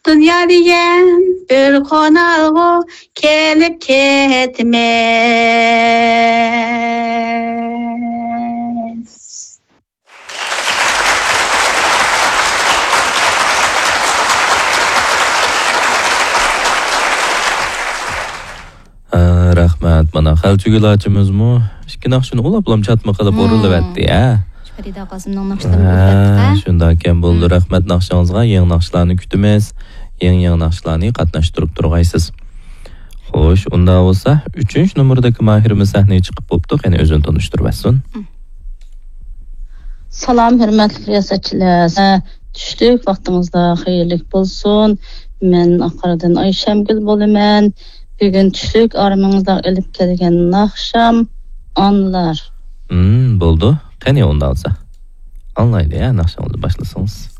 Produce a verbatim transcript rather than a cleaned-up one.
دۇنيا دېگەن بىر قونالغۇ، كېلىپ كېتىمىز. ھە، رەھمەت. مانا، خەلچۈگۈل ئاچىمىزمۇ ئىككى ناخشىنى ئۇلاپلام چاتما قىلىپ مم. ئورۇنلىۋەتتى، ھە؟ شۇ پەرىدە ئاقاسىمنىڭ ناخشىلىرىنى ھە، ئۇلىۋەتتۇق، ھە؟ شۇنداككەن بولدى. مم. رەھمەت ناخشىڭىزغا، يېڭى ناخشىلارنى كۈتىمىز. يېڭى، يېڭى ناخشىلارنى قاتناشتۇرۇپ تۇرغايسىز. خوش، ئۇنداق بولسا، ئۈچىنچى نومۇردىكى ماھىرىمىز سەھنىگە چىقىپ بوپتۇ. قېنى، ئۆزىنى تونۇشتۇرۇۋەتسۇن. مم. سالام، ھۆرمەتلىك رىياسەتچىلەر. چۈشلۈك ۋاقتىڭىزدا خەيرلىك بولسۇن. مەن ئاقاردىن ئايشەمگۈل بولىمەن. بۈگۈن چۈشلۈك ئارمىڭىزدا ئېلىپ كەلگەن ناخشام ئانلار. ھىم، بولدى. قېنى، ئۇنداق بولسا. ئاڭلايلى، ھە، ناخشىڭىزنى باشلىسىڭىز.